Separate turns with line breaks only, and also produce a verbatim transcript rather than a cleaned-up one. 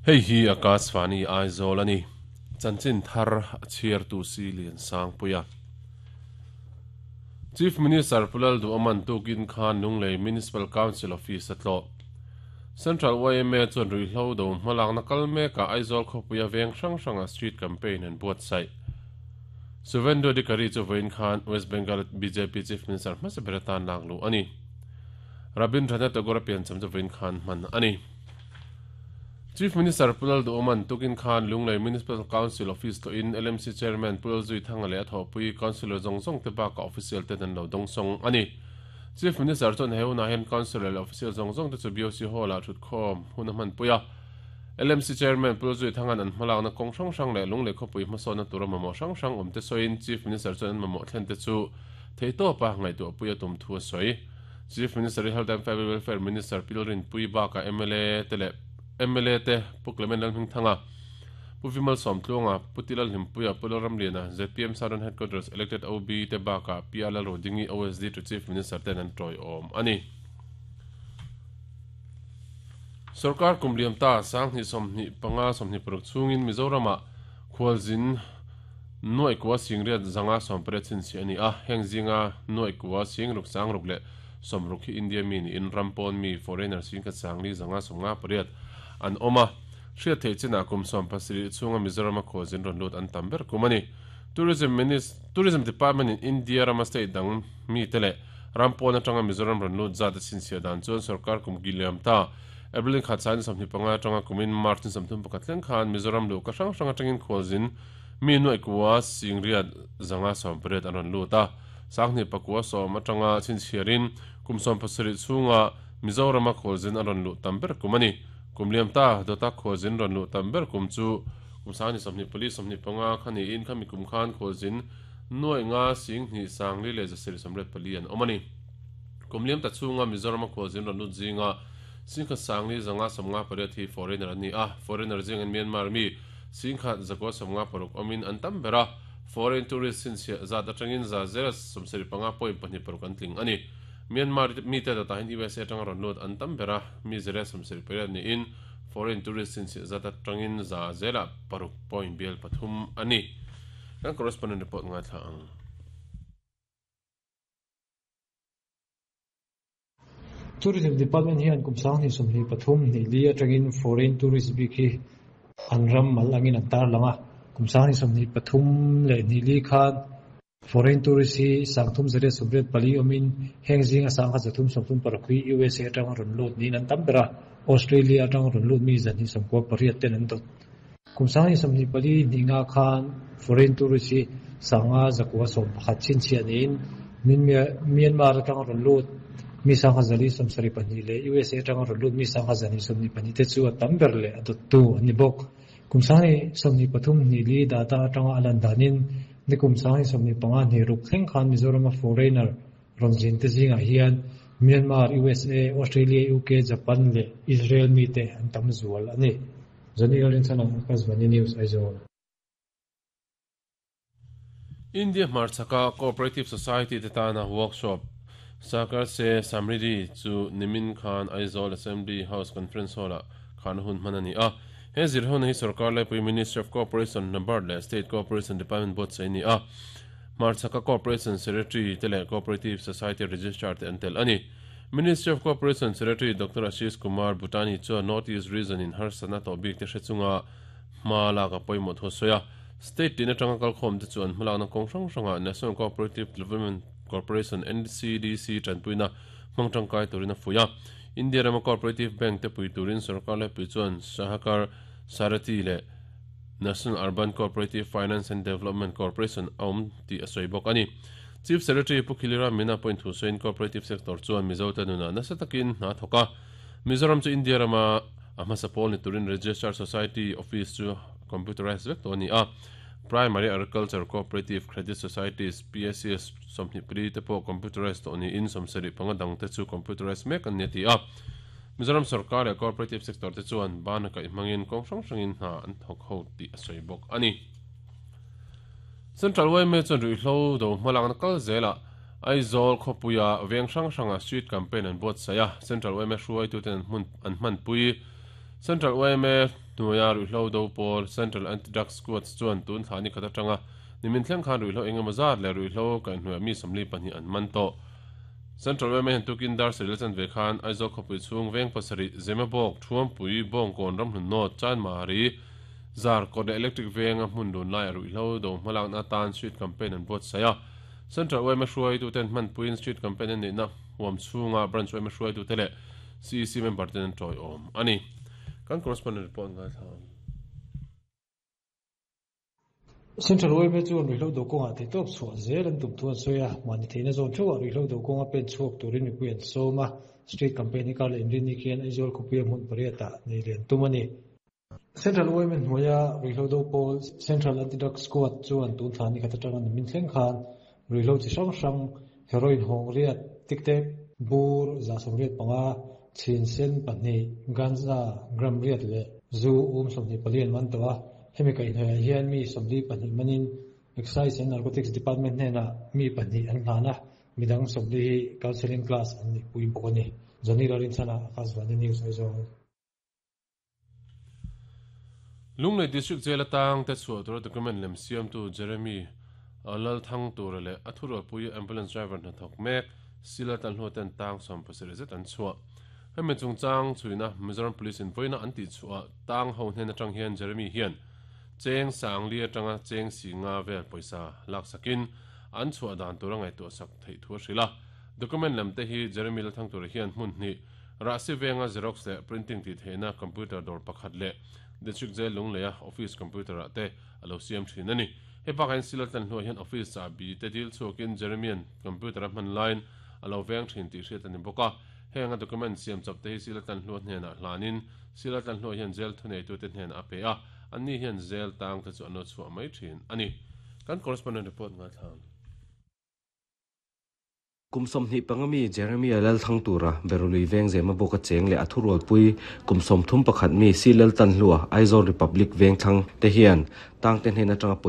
Hei hi Akashvani Aizawl ani chanchin thar a chhiar tu si lian sang puia Chief Minister Pulal Du Aman tukin khan Lunglei Municipal Council Office atlo Central Y M A chuan ruihhlo do hmalak na kal meka Aizawl khawpuia veng hrang hranga street campaign an buatsaih Suvendu Adhikari chu vawiin khan West Bengal B J P Chief Minister hmasa ber atan lak luh ani Rabindranath Tagore piancham chu vawiin khan hman ani Chief Minister Pulal Du Aman tukin khan Lunglei Municipal Council Office to in L M C Chairman Pulal Zui Thanga leh a thawhpui Councillor zawng zawng te bakah official te an lo dawng sawng ani Chief Minister chuan he hunah hian Councillor leh official zawng zawng te chu B O C Hall ah thut khawm hun a hman pui a L M C Chairman Pulal Zui Thangan an hmalakna kawng hrang hrang leh Lunglei khawpui hmasawnna tura mamawh hrang hrang awm te sawiin Chief Minister chuan an mamawh thlen te chu thei tawpa ngaihtuah pui a tum thu a sawi Chief Minister Health and Family Welfare Minister Pilrin Pui bakah M L A te leh M L A te Pu Clement Lalhming Thanga Pu Vimal Sawmtluanga Pu Tilal Hlimpuia Pu Lalramliana Z P M Southern Headquarters elected O B te bakah P R Lalrodingi O S D to Chief Minister ten an tawi awm ani Sarkar kumliam ta sang hnih sawmhnih panga sawmhnih paruk chungin Mizorama khualzin nuai kuwa singriat zanga sawmpariat chinchi ani a heng zinga nuai kuwa singruk sangruk leh sawmruk hi India mi ni in rampawn mi foreigner singkhat sangli zanga sawmnga pariat an awma hriat theih chinah kum sawm pasarih chunga Mizorama khualzin rawn lut an tam ber kum ani Tourism Minister Tourism Department in India rama state dang mi te leh rampawn atanga Mizoram rawn lut zat a chinchhiah dan chuan sarkar kum giliam ta April khat sain sawmhnih panga atanga kumin March ni sawmthum pakhat thleng khan Mizoram luh ka hrang hrang atangin khualzin mi nuai kuwa singriat zanga sawmpariat an rawn lut a sanghnih pakua sawm atanga chinchhiarin kum sawm pasarih chunga Mizorama khualzin an rawn luh tam ber kum ani kumliam ta dota khualzin rawn luh tam ber kum chu kum sangni sawmhnih pali sawmhnih panga khani in khami kum khan khualzin nuai nga singhnih sangli leh zasarih sawmriat pali an awm ani kumliam ta chunga Mizorama khualzin rawn lut zinga singkhat sangli zanga sawmnga pariat hi foreigner ani a foreigner zing an Myanmar mi singkhat zakua sawmnga paruk awmin an tam bera foreign tourist chinchhiah zat atangin za zera sawmsarih panga point pahnih paruk an tling ani Myanmar mi te data hin U S A atanga rawn lut an tam bera mi zera sawmsarih pariat niin foreign tourist chinchhiah zat atangin za zela paruk point bial pathum ani kan correspondent report ngai thla ang
Tourism Department hian kum sanghnih sawmhnih pathum hnih li atangin foreign tourist bik hi an ram mal angin an tar langa kum sanghnih sawmhnih pathum leh hnih li khan foreign tourist hi sangthum zariat sawmriat pali awmin heng zinga sangkhat zathum sawmthum paruk hi U S A atanga rawn lut niin an tam bera Australia atanga rawn lut mi zanhnih sawmkua pariat ten an dawt kum sanghnih sawmhnih pali hnih nga khan foreign tourist hi sanga zakua sawm pakhat chinchhiah niin Myanmar atanga rawn lut mi sangha zali sawmsarih pahnih leh U S A atanga rawn lut mi sangha zani sawmhnih pahnih te chu a tam ber leh a dawttu an ni bawk kum sanghnih sawmhnih pathum hnih li data atanga a lan danin ni kum sanghnih sawmhnih panga hnih ruk thleng khan Mizorama foreigner rawn zin te zingah hian Myanmar U S A Australia U K Japan leh Israel mi te an tam zual ani Zani Lalrinchhana Akashvani News Aizawl
India Hmarchhaka Cooperative Society te tana workshop Sakar se Samridi chu Nimin Khan Aizawl Assembly House Conference Hall ah khan hun hman ani a he zir hun hi sarkar laipui Ministry of Cooperation NABARD leh State Cooperation Department board sei ni a Hmarchhaka Cooperation Secretary te leh Cooperative Society Registrar te an tel ani Ministry of Cooperation Secretary Doctor Ashish Kumar Butani chuan North East Region in harsatna tawh bik te hre chunga hma lak a pawimawh thu sawi a State tin atanga kalkhawm te chuan hmalakna kawng hrang hranga National Cooperative Development Corporation N C D C tanpuina hmangtangkai turin a fuia India Rama Cooperative Bank te pui turin sarkar laipui chuan Sahakar Sarathi leh National Urban Cooperative Finance and Development Corporation awm tih a sawi bawk ani Chief Secretary Pu Khilira Mina point thu sawiin Cooperative Sector chuan Mizo te nuna nasa takin hna thawk a Mizoram chu India Rama a hmasa pawl ni turin Registrar Society Office chu computerized vek tawh ani a Primary Agriculture Cooperative Credit Societies P S C S sawmhnih pali te pawh computerized tawh niin sawmsarih panga dang te chu computerized mek an ni a ti a Mizoram sarkar leh Cooperative Sector te chuan bana kaih hmangin kawng hrang hrangin hna an thawk ho tih a sawi bawk ani Central Y M A chuan ruihhlo do hmalakna kal zela Aizawl khawpuia veng hrang hranga street campaign an buatsaih a Central Y M A hruaitu ten an hmun an hmanpui Central Y M A Nuaya ruihhlo do pawl Central Anti-Drug Squad chuan tun thla ni khat atanga nimin thleng khan ruihhlo engemaw zat leh ruihhlo kaihhnuaiah mi sawmli pahnih an man tawh. Central Y M A hian tukin dar sarih la chan ve khan Aizawl khawpui chhung veng pasarih Zemabawk Thuampui Bawngkawn Ramhlun North Chanmari Zar kawt leh Electric venga hmun lun laiah ruihhlo do hmalakna atan street campaign an buatsaih a. Central Y M A hruaituten hmanpuiin street campaign an neihna huam chhunga branch Y M A hruaitute leh C E C member ten an tawiawm a ni. Kan correspondent report ngaithla ang.
Central Y M A chuan ruihhlo do kawngah theitawp chhuah zel an tum thu an sawi a, mahni theihna zawn theuhah ruihhlo do kawnga pen chhuak turin mipui an sawm a, street campaign hi kar leh inrinni khian Aizawl khawpuia hmun pariatah nei lian tum a ni. Central Y M A hnuaia ruihhlo do pawl Central Anti-Drug Squad chuan tun thla ni khat atanga nimin thleng khan ruihhlo chi hrang hrang heroin hawng riat tiktek bur za sawmriat panga chhin sen pahnih ganja gram riat leh zu um sawmhnih pali an man tawh a. Hemi kaihhnuaiah hian mi sawmli pahnih manin Excise and Narcotics Department hnenah mi pahnih an hlan a, midang sawmli hi counselling class an nih pui bawk a ni. Johnny Lalrinchhana, Akashvani News, Aizawl.
Lunglei District Jail atang te chhuah tura document lem siamtu Jeremy Lalthang tura leh a thurualpui ambulance driver hnathawk mek Sila Tlanhlua ten tang sawm pasarih zet an chhuah. Hemi chungchang chhuina Mizoram Police in vawiina an tih chhuah tang ho hnen atang hian Jeremy hian cheng sang li atanga cheng si nga vel pawisa laksakin an chhuah dan tura ngaihtuah sak theih thu a hrilh a. Document lem te hi Jeremy Lalthang tura hian hmun hnih Rahsi venga Xerox leh printing tih theihna computer dawr pakhat leh District Jail Lungleia office computer ah te a lo siam thin a ni. Hei bakah hian Sila Tlanhlua hian office chahbi te dil chhuakin Jeremyan computer a hman laiin a lo veng thin tih hriat a ni bawk a. Heng a document siam chawp te hi Sila Tlanhlua hnenah hlanin Sila Tlanhlua hian jail thuneitute hnenah a pe a, anni hian jail tang te chu an lo chhuah mai thin a ni. Kan correspondent report ngaithla ang.
Kum sawmhnih panga mi Jeremia Lalthang tura Berului veng zema bawk a cheng leh a thurualpui kum sawmthum pakhat mi Si Laltanhlua Aizawl Republic veng thlang te hian tang te hnen atanga